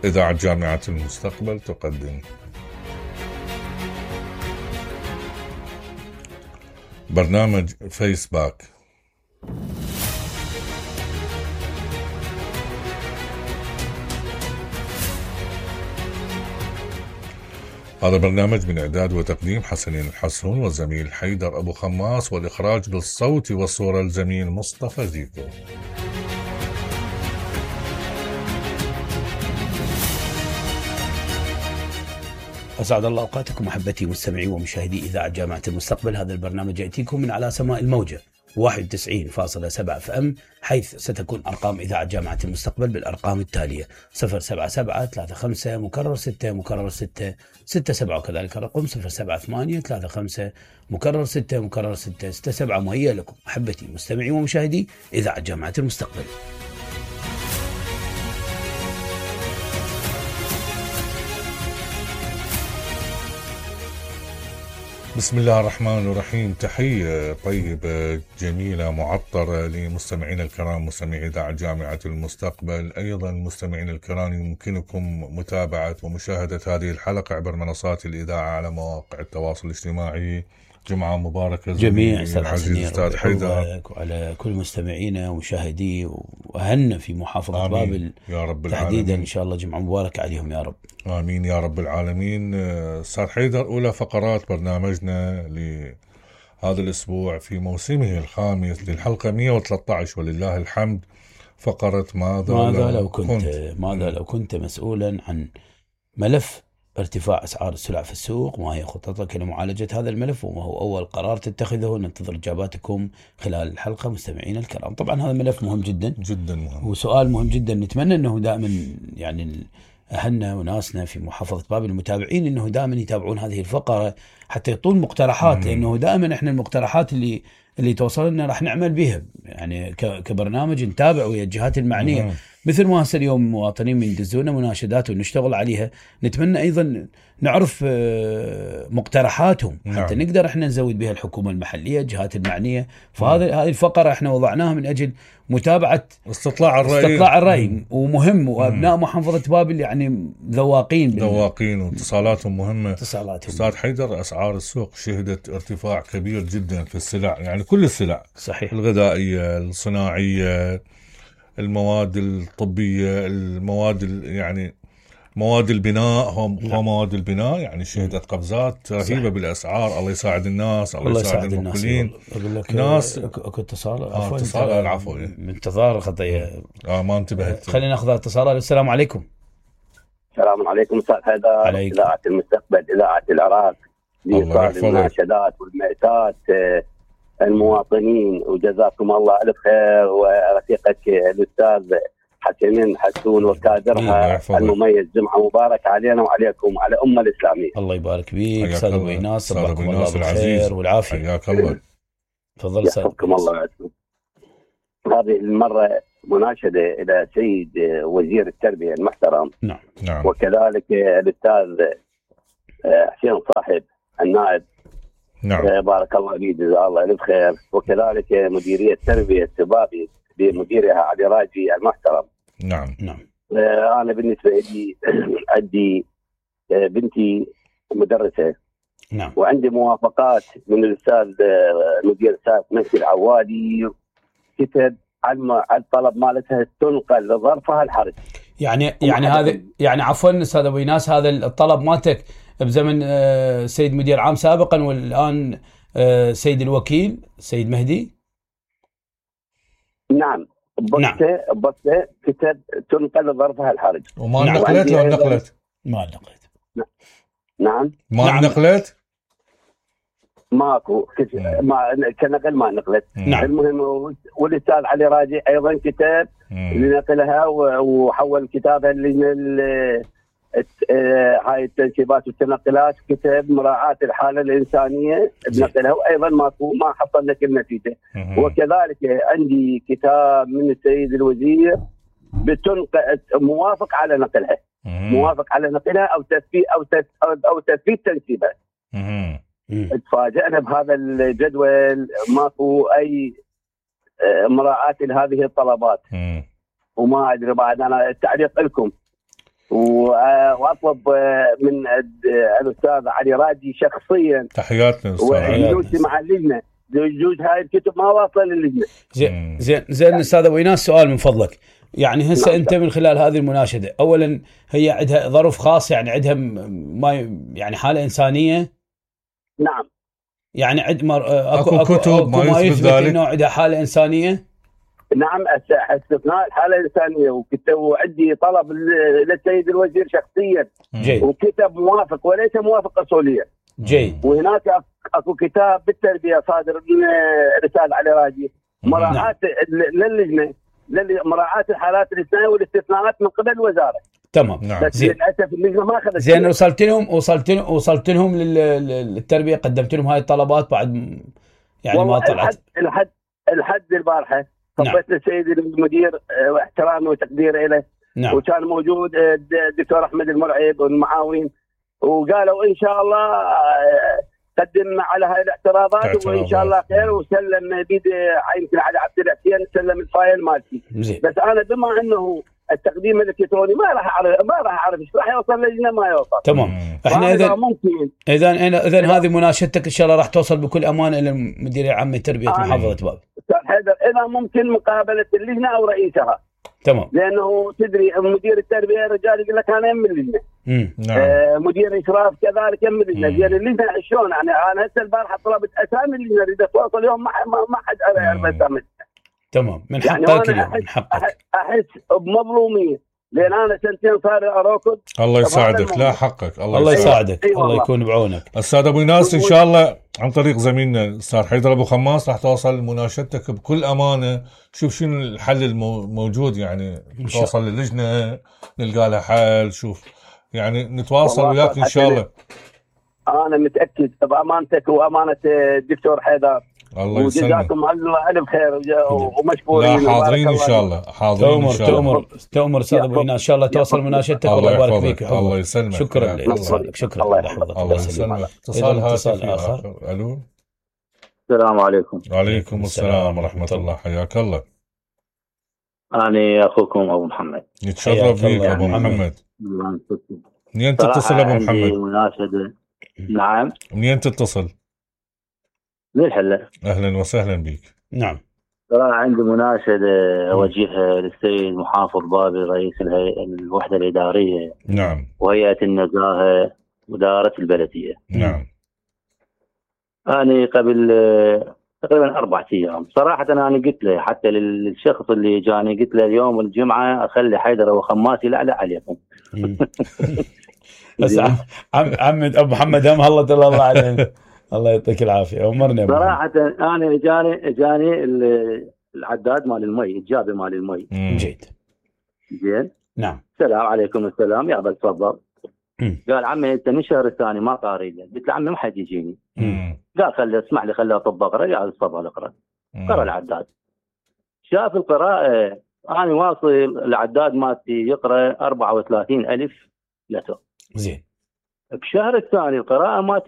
إذاعة جامعة المستقبل تقدم برنامج فيس باك. هذا برنامج من إعداد وتقديم حسنين الحسون والزميل حيدر أبو خماس، والإخراج بالصوت والصورة الزميل مصطفى زيكو. أسعد الله أوقاتكم محبتي مستمعي ومشاهدي إذاعة جامعة المستقبل. هذا البرنامج يأتيكم من على سماء الموجة 91.7 FM، حيث ستكون أرقام إذاعة جامعة المستقبل بالأرقام التالية: 077-35 مكرر 6 مكرر 6 67، وكذلك الرقم 078-35 مكرر 6 مكرر 6 67. مهيئ لكم محبتي مستمعي ومشاهدي إذاعة جامعة المستقبل. بسم الله الرحمن الرحيم. تحية طيبة جميلة معطرة لمستمعينا الكرام، مستمعي إذاعة جامعة المستقبل. أيضا مستمعينا الكرام، يمكنكم متابعة ومشاهدة هذه الحلقة عبر منصات الإذاعة على مواقع التواصل الاجتماعي. جمعة مباركة جميع العزيز أستاذ حيدر، وعلى كل مستمعينا ومشاهدي وأهلنا في محافظة بابل يا رب تحديدا العالمين. إن شاء الله جمعة مباركة عليهم يا رب. آمين يا رب العالمين. أستاذ حيدر، أولى فقرات برنامجنا لهذا الأسبوع في موسمه الخامس للحلقة 113 ولله الحمد، فقرة ماذا لو كنت مسؤولا عن ملف ارتفاع أسعار السلع في السوق، وما هي خطتك لمعالجة هذا الملف، وما هو أول قرار تتخذه؟ ننتظر إجاباتكم خلال الحلقة مستمعينا الكرام. طبعا هذا ملف مهم جدا جدا مهم، وسؤال مهم جدا. نتمنى أنه دائما يعني أهلنا وناسنا في محافظة بابل المتابعين أنه دائما يتابعون هذه الفقرة حتى يعطون مقترحات، لأنه دائما إحنا المقترحات اللي توصل لنا راح نعمل بها يعني كبرنامج، نتابع ويا الجهات المعنية. مثل ما هسه اليوم مواطنين يدزونا مناشدات ونشتغل عليها، نتمنى أيضا نعرف مقترحاتهم حتى نقدر احنا نزود بها الحكومة المحلية، الجهات المعنية. فهذه الفقرة احنا وضعناها من أجل متابعة استطلاع الرأي ومهم. وأبناء محافظة بابل يعني ذواقين واتصالاتهم مهمة. أستاذ حيدر، أسعار السوق شهدت ارتفاع كبير جدا في السلع، يعني كل السلع صحيح، الغذائية، الصناعية، المواد الطبية، يعني مواد البناء، مواد البناء يعني شهدت قفزات رهيبة بالأسعار. الله يساعد الناس، الله يساعد المقبلين. الناس اكو اتصال العفو من انتظار خطية ما انتبهت. خلينا ناخذ اتصال. السلام عليكم. السلام عليكم أستاذ حيدر، إذاعة المستقبل، إذاعة العراق، لإيصال المناشدات والمأساة المواطنين، وجزاكم الله ألف خير. ورفيقك الأستاذ حسنين حسون وكادرها المميز، جمعة مبارك علينا وعليكم وعلى الأمة الإسلامية. الله يبارك فيك أستاذ أبو إيناس، صباحكم الله بالخير والعافية. حياك الله. تفضل يحفظكم الله. هذه المرة مناشدة إلى سيد وزير التربية المحترم، نعم. وكذلك الأستاذ حسين صاحب النائب، نعم. بارك الله فيه، جزاه الله ألف خير. وكذلك مديرية تربية بابل بمديرها علي راجي المحترم. نعم. أنا بالنسبة لي عندي بنتي مدرسة، نعم، وعندي موافقات من الأستاذ مدير ساعة مسجد العوادي، كتب عن الطلب مالتها تنقل لظرفها الحرج. يعني هذا يعني عفوا أستاذ أبو إيناس، هذا الطلب مالتك بزمن سيد مدير عام سابقا، والآن سيد الوكيل سيد مهدي. نعم، بسته كتب تنقل لظرفها الحرج. وما نقلت لو نقلت؟ ما نقلت. نعم، ما نقلت؟ ماكو كنقل ما نقلت. نعم. المهم، والاستاذ علي راجي ايضا كتاب لنقلها، وحول كتابها هاي التنسيبات والتنقلات، كتاب مراعاة الحالة الإنسانية بنقلها، وأيضا ما حصل لك النتيجة. وكذلك عندي كتاب من السيد الوزير موافق على نقلها، أو تثبيت تنسيبها. تفاجأنا بهذا الجدول، ماكو أي مراعاة لهذه الطلبات. وما أدري بعد، أنا التعليق لكم. واطلب من الاستاذ علي راجي شخصيا تحياتنا وجودي مع اللجنه، جوز هاي الكتب ما واصله للجنه. زين استاذ ابو ايناس، سؤال من فضلك. يعني هسه نعم. انت من خلال هذه المناشده، اولا هي عندها ظرف خاص، يعني عندها ما يعني حاله انسانيه؟ نعم. يعني اكو كتب ما يثبت انه عندها حاله انسانيه؟ نعم، استثناء الحاله الانسانيه، وعندي طلب للسيد الوزير شخصيا. جيد. وكتاب موافق وليس موافق اصوليا. جيد. وهناك اكو كتاب بالتربيه صادر من الاستاذ علي راجي، مراعاه للجنه، مراعاه الحالات الاستثنائيه والاستثناءات من قبل الوزاره. تمام. بس للاسف اللجنه ما اخذت. زين، وصلت لهم للتربيه، قدمت لهم هاي الطلبات بعد يعني ما طلعت؟ الحد البارحه صبيت للسيد المدير واحترامي وتقديري له. نعم. وكان موجود الدكتور احمد المرعب والمعاون، وقالوا ان شاء الله قدم على هاي الاعتراضات وان شاء الله خير، وسلم بيد يمكن على عبد الحسين سلم الفايل مالتي. بس انا بما انه التقديم الالكتروني ما راح اعرف ايش راح يوصل للجنه، ما يوصل. تمام. احنا اذا هذه مناشدتك ان شاء الله راح توصل بكل امانه الى المدير العام لتربيه محافظه باب. استاذ حيدر، اذا ممكن مقابله اللجنه او رئيسها. تمام. لانه تدري مدير التربيه رجال يقول لك انا يم اللجنه. نعم. مدير الاشراف كذلك يم اللجنه. زين اللجنه شلون؟ يعني انا هسه البارحه طلبت اسامي اللجنه، اريد اتواصل اليوم ما حد يعرف اسامي. تمام. من يعني حقك اليوم، من حقك. احس بمظلوميه، لان انا سنتين صار اركض. الله يساعدك. لا حقك. الله يساعدك. الله يكون بعونك. استاذ ابو ايناس، ان شاء الله عن طريق زميلنا الاستاذ حيدر ابو خماس راح توصل مناشدتك بكل امانه. شوف شنو الحل الموجود، يعني توصل للجنه نلقى لها حل. شوف يعني نتواصل وياك ان شاء الله. انا متاكد بامانتك وامانه الدكتور حيدر. الله يسلمك. وجزاكم الله الف خير ومشكورين. لا حاضرين ان شاء الله. حاضرين ان شاء الله. تؤمر استاذ ابو ايناس، ان شاء الله توصل مناشدتك. الله يبارك فيك. الله يسلمك. شكرا لك. شكرا. الله يحفظك. الله يسلمك. اتصال اخر. الو. السلام عليكم. وعليكم السلام ورحمه الله. حياك الله. أنا أخوكم أبو محمد. يتشرف فيك أبو محمد. منين تتصل أبو محمد؟ عندي مناشدة. نعم. منين تتصل؟ من الحلة. أهلا وسهلا بك. نعم. صراحة عندي مناشدة أوجهها للسيد محافظ بابي رئيس الوحدة الإدارية. نعم. وهيئة النزاهة وإدارة البلدية. نعم. أنا قبل تقريبا 4 أيام صراحة أنا قلت له، حتى للشخص اللي جاني قلت له اليوم الجمعة أخلي حيدر وخماس يلعلع عليكم. بس عم أبو محمد هم الله علينا. الله يعطيك العافية. أمرنا صراحة أنا جاني العداد مال المي، الجابي مال المي. جيد. زين. نعم. السلام عليكم. السلام. يا بل تفضل. قال عمي انت من الشهر الثاني ما قاري له. قلت له عمي ما حد يجيني. قال خلي اسمح لي خليه اطب اقرا. قال تفضل اقرا. قرا العداد. شاف القراءه انا واصل العداد مالتي يقرا 34,000 لتر. زين. بشهر الثاني القراءه مالتي